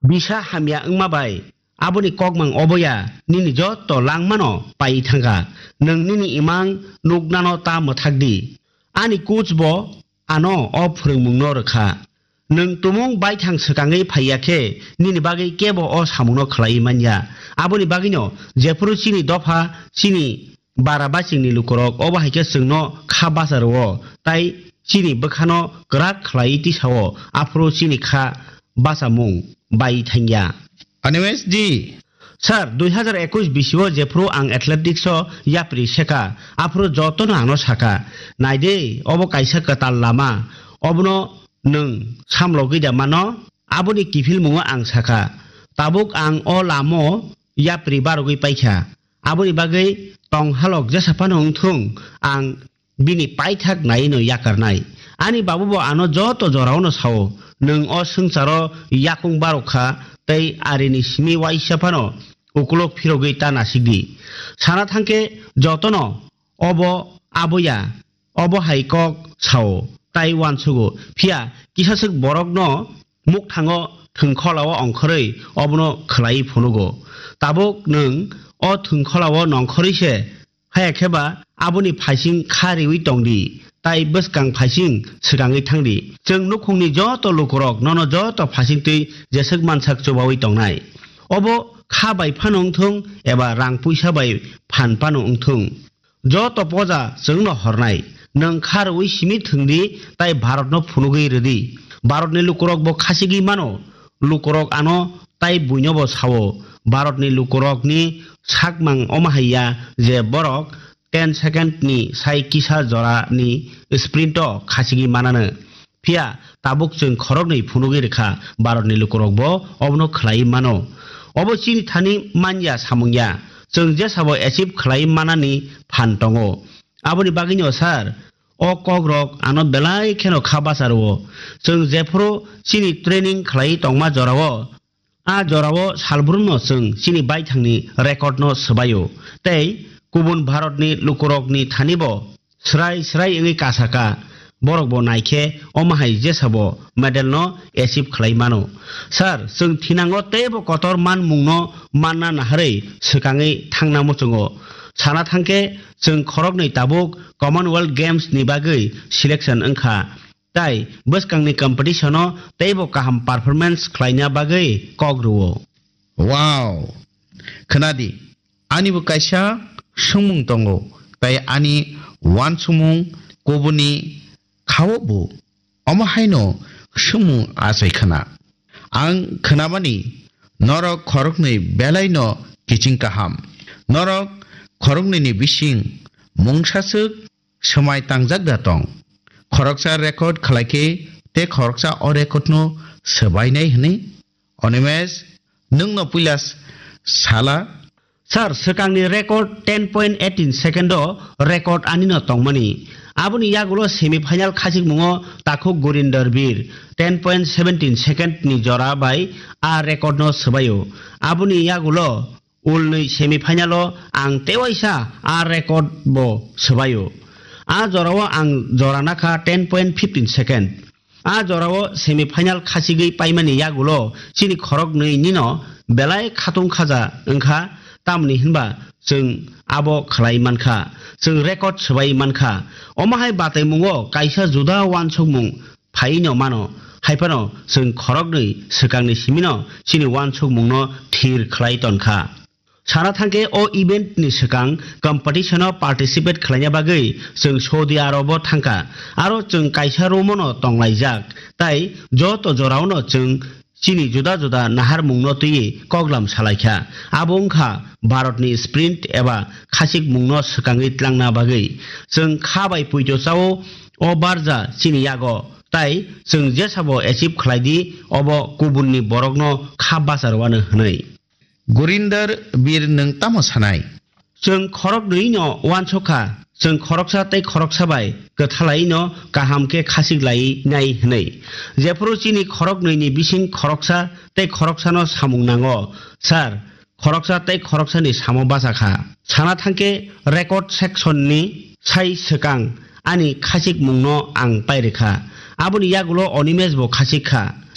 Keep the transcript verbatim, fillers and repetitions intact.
Bisa hamya wngma bai aboni kokmang oboya nini joto langmano pai thangkha. Nwng nini imang nuknano ta mwthak di. Ani coach bo ano o phwrwngmungno rwkha. Nwng tumung baithang swkangwi phaiya khe nini bagwi kebo o samungno khlaiwi manya. Aboni bagwino jephuru chini dopha, chini bara bachingni lukurok obo hai khe chwngno kha bacha rwo, tai chini bwkhano kwrak khlaiwi tisao, aphuru chini kha bachamung bai thangya. Animesh ji. Sir, dui hazar ekush bisio jephuru ang athletics o yapri seka, aphuru jotono ano saka, "Naide, obo kaisa kwtal lama, obono nwng samlogwi da mano?" Aboni kiphilmungo ang saka, "Tabuk ang o lamo yapri barogwi paikha, aboni bagwi tong halok jesa phano wngthung, ang bini paithak naino yakarnai." Ani babu bo ano joto jorao no sao, "Nwng o swngcharo yakung barokha tei arini simi waisa phano ukulok phirogwi ta nasikdi." Sana thangkhe jotono obo aboya, obo hai kok sao, tai uansugo. Phiya kisaswk borokno mukthango thwngkholao ongkhorwi obono khwlaiwi phunugo. Tabuk nwng o thwngkholao nongkhorwi se Haya khe ba aboni phaising kha riwi tong di, tai bwskang phaising swkangwi thang di. Chwng nukhungni joto lukurok nono joto phaisingtwi jeswk mansak chubawi tongnai. Obo kha bai phano wngthung eba rang puisa bai phan phano wngthung, joto poja chwngno hornai. Nwng kha rwui simi thwng di, tai Bharatno phunugwi rw di. Bharatni lukurok bo khasigwi mano. Lukurok ano tai buino bo sao, Bharatni lukurokni sakmang omo hai ya je borok ten second ni sai kisa jora ni sprint o khachigwi manano. Phiya tabuk chwng khoroknwi phunugwi rwkha, Bharatni lukurok bo obono khlaiwi mano. Obo chini thani manya samung ya, chwng jesabo achieve khlaiwi manani phan tongo. Aboni bagwino sir, o kokrok ano belai kheno kha bacha rwo. Chwng jephuru chini training khlaiwi tongma jorao, a jorao salbrumno chwng chini baithangni record no swbaio. Tei kubun Bharatni lukurokni thanibo srai srai wngwi kasaka, borokbo naikhe omo hai jesabo medal no achieve khlai mano. Sir, chwng thinango teibo kotor manmungno manna naharwi swkangwi thangna muchungo. Sana thangkhe, chwng khoroknwi tabuk Commonwealth Games ni bagwi selection wngkha, tai bwskangni competition o teibo kaham performance khlaina bagwi kok rwo. Wow! Khwnadi, ani bo kaisa swngmung tongo, tai ani uansukmung kubuni khao bo omo haino swngmung achai khna. Ang khnamani norok khoroknwi belaino kiching kaham. Norok khoroknwini bising mungsaswk swmai tangjak da tong. Khoroksa record khlaikhe tei khoroksa o record no swbainai hwnwi. Animesh, nwngno puila s-, sala. Sir, swkangni record ten point eighteen second o record anino tongmani. Aboni yagulo semi final khachikmungo takhuk Gurinder Bir ten point seventeen second ni jora bai a record no swbaio. Aboni yagulo ulnwi semi final o ang tewaisa a record bo swbaio. A jorao ang jora nakha ten point fifteen second. A jorao semi final khachigwi paimani yagulo chini khoroknwi nino belai khatung khaja wngkha, tamni hinba chwng abo khlai mankha, chwng record swbai mankha. Omo hai bataimungo kaisa juda uansukmung phaino mano, haiphano chwng khoroknwi swkangni simino chini uansukmungno thir khlai tonkha. Sana thangkhe o event ni swkang competition o participate khlaina bagwi chwng Saudi Arab o thangkha. Aro chwng kaisa room o no tonglaijak, tai joto jorao no chwng chini juda juda naharmung no twiwi koklam salaikha. Abo wngkha Bharat ni sprint eba khachikmung no swkangwi tlangna bagwi. Chwng kha bai puito chao o barja chini yago, tai chwng jesabo achieve khlai di, obo kubun ni borok no kha bacharwano hwnwi. Gurinder Bir, nwng tamo sanai? Chwng khoroknwi no uansukha, chwng khoroksa tei khoroksa bai kwthalai no kaham khe khachik lai nai hwnwi. Jephuru chini khoroknwi ni bising khoroksa tei khoroksa no samung nango, sir, khoroksa tei khoroksa ni samo bachakha. Sana thangkhe record section ni sai swkang ani khachikmung no ang pairikha. Aboni yagulo Animesh bo khachik kha.